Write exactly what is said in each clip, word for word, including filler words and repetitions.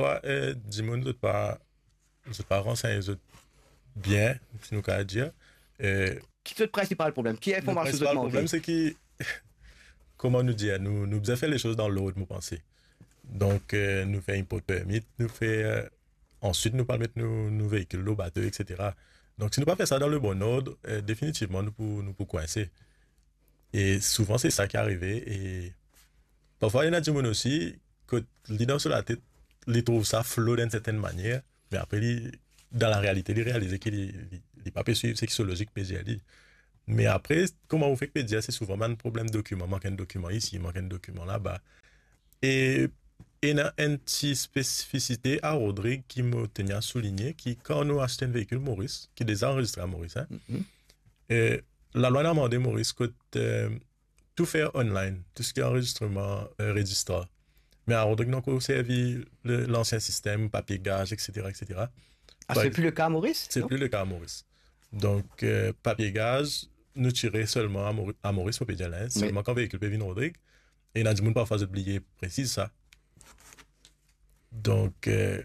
parfwa, eh, dimoun zot pa, zot pa ransegn zot bien, si nou kapav dir. Eh, Ki zot prinsipal problem? Ki le informasion zot prinsipal manke? Problem, se ki, kouma nou dir, nou, nou bizin fer lesoz dan lord, mo panse. Donk, eh, nou fer import permit, nou fer, eh, answit nou pou al met nou, nou veikil lor bato, et cetera. Donk, si nou pa fer sa dan le bon ord, eh, definitivman, nou pou, nou pou kwinse. E souvan, se sa ki arive. E parfwa, ena dimoun osi, kot li dan so latet, li trouv sa flo dan enn sertenn manier, me apre, li, dan larealite, li realize ki li, li, li pa pe swiv seki so lozik pe dir li. Me apre, kouma ou fek pe dir, se souvan bann problem dokiman, mank enn dokiman isi, mank enn dokiman laba. E ena enn ti spesifisite a Rodrig ki mo teni a souligne, ki kan nou aste enn veikil Moris, ki deza anrezistre a Moris, hein, Mhm. eh, lalwa inn mande Moris kot, eh, tou fer online, tou seki anrezistreman, eh, rezistrar. Me a Rodrig, nou ankor servi le, lansien sistem, papie gaz, et cetera, et cetera. Ah, Par c'est ex- plus le cas à Maurice, C'est non? Plus le cas à Maurice. Donk, eh, papie gaz, nou tire selman a Mori-, a Moris, mo pe dir la, hein, Oui. Selman kan veikil pe vinn Rodrig, e ena dimoun parfwa zot bliye presiz sa. Donk, eh,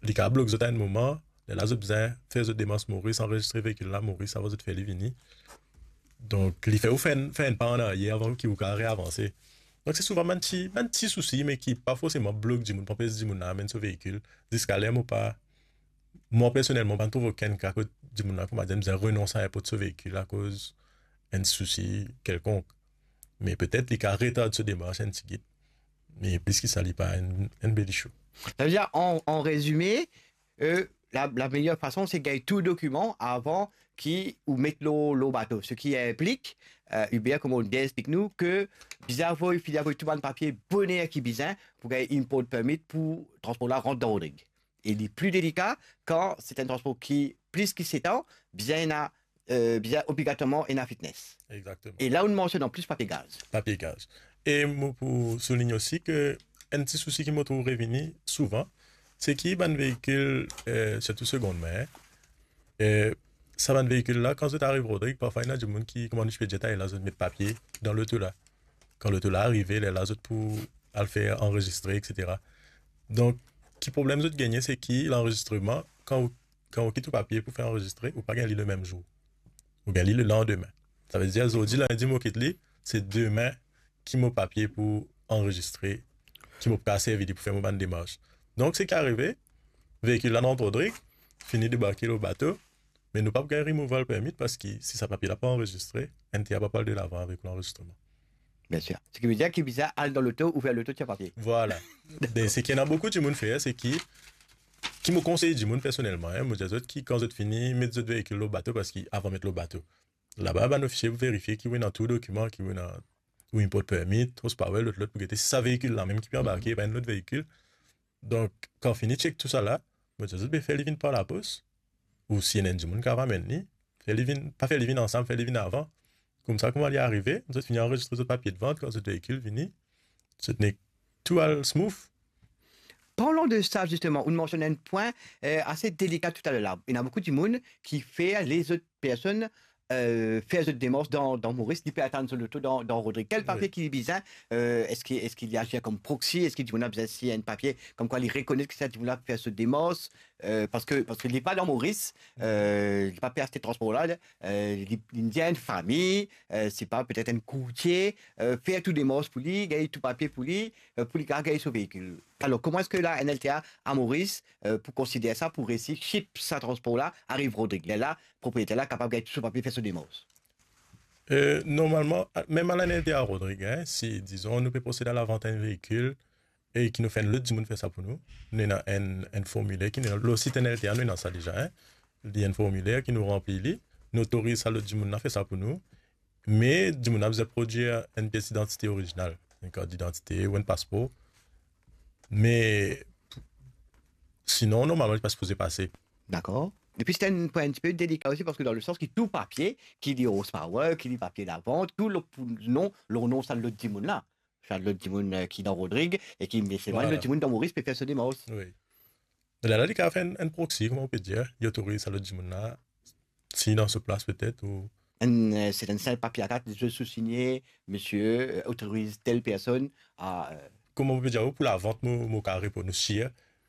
li kapav blok zot a enn moman, lerla zot bizin fer zot demars Moris, anrezistre veikil la Moris avan zot fer li vini. Donk, li fer ou fer enn, fer enn pa an aryer avan ki ou kapav reavanse. Donk, se souvan bann ti, bann ti sousi, me ki pa forseman blok dimoun, pou anpes dimoun la amenn so veikil. Ziska ler mo pa, mwa personelman, pa trouv okenn ka kot dimoun la, kouma dir, bizin renons a inport so veikil akoz enn sousi kelkonk. Me petet li kapav retard so demars enn tigit. Me plis ki sa, li pa enn, enn bel issue. Savedir, an, an rezime, eh, la, la meyer fason, se gagn tou dokiman avan ki ou met lor, lor bato. Seki inplik, eh, Hubert, kouma ou bien explik nou, ke bizin avoy, fini avoy tou bann papie boner ki bizin pou gagn import permit pou transpor la rant dan Rodrig. E li pli delika kan se enn transpor ki plis ki set an, bizin ena, eh, bizin obligatorman ena fitness. Exactement. E la, ou mansionn anplis papie gaz. Papie gaz. E mo pou souligne osi ke enn ti sousi ki mo trouv revini souvan, se ki bann veikil, eh, sirtou segondmin, eh, sa bann veikil la, kan zot ariv Rodrig, parfwa ena dimoun ki, kouma nou ti pe dir taler la, zot met papie dan loto la. Kan loto la arive, lerla zot pou al fer anrezistre, et cetera. Donk, ki problem zot gagne, se ki lanrezistreman, kan ou, kan ou kit ou papie pou fer anrezistre, ou pa gagn li le mem zour. Ou gagn li le landime. Savedir, zordi, lindi, mo kit li, se demin ki mo papie pou anrezistre, ki mo pou kapav servi li pou fer mo bann demars. Donk, seki arive, veikil la rant Rodrig, fini debarke lor bato, me nou pa pou gagn removal permit, parski si sa papie la pa anrezistre, N T A pa pou al delavan avek lanrezistreman. Bien sir. Seki vedir ki bizin al dan loto, ouver loto, tir papie. Vwala. Dakor. Be, seki ena boukou dimoun fer, se ki, ki mo konsey dimoun personelman, hein, mo dir zot ki kan zot fini met zot veikil lor bato, parski avan met lor bato, laba bann ofisie pou verifie ki ou ena tou dokiman, ki ou ena ou import permit, horsepower, lot, lot, pou gete si sa veikil la mem ki pe anbarke, pa enn lot veikil. Donk, kan fini chek tou sa la, mo dir zot, be, fer li vinn par lapos, ou si ena enn dimoun kapav amenn li, fer li vinn, pa fer li vinn ansam, fer li vinn avan. Koumsa, kouma li arive, zot fini anrezistre zot papie de vant, kan zot veikil vini, zot nek tou al smooth. Parlan de sa, zisteman, ou mansionn enn pwin, eh, ase delika toutaler la. Ena boukou dimoun ki fer lezot personn, eh, fer zot demars dan, dan Moris, li pe atann so loto dan, dan Rodrig. Kel papie Wi. Ki li bizin, eh, eski, eski li azir kom proxy, eski dimoun la bizin sign enn papie komkwa li rekonet ki sa dimoun la fer so demars, eh, parski, parski li pa dan Moris, eh, li pa pe aste transpor la, eh, li, li dir enn fami, eh, se pa petet enn kourtie, eh, fer tou demars pou li, gagn tou papie pou li, eh, pou li kapav gagn so veikil. Alor, kouma eski la, N L T A a Moris, eh, pou konsider sa, pou resi ship sa transpor la, ariv Rodrig? Lerla, propriyeter la kapav gagn tou so papie, fer so demars. Eh, normalman, a-, mem a la N L T A Rodrig, hein, si, dizon, nou pe prosed a lavant enn veikil, e ki nou fer enn lot dimoun fer sa pou nou. Nou ena enn, enn formiler ki nou, lor sit N L T A, nou ena sa deza, hein. Li enn formiler ki nou ranpli li, nou otoriz sa lot dimoun la fer sa pou nou. Me dimoun la bizin prodwir enn pies idantite orizinal, enn kart idantite ou enn paspor. Me sinon, normalman, li pa sipoze pase. Dakor. Epi, se enn pwin enn tipe delika osi, parski dan le sans ki tou papie, ki li horsepower, ki li papie lavant, tou lor pou non, lor non sa lot dimoun la. Sa lot dimoun, eh, ki dan Rodrig, e ki, me se vre, vwala, lot dimoun dan Moris pe fer so demars. Wi. Lerla, li kapav fer enn, enn proxy, kouma ou pe dir, li otoriz sa lot dimoun la, sign dan so plas petet, ou enn, eh, se enn sinp papie A kat, zis sou signe, misie, eh, otoriz tel personn a, eh, kouma ou pe dir, pou lavant, mo, mo kapav reponn ou sir,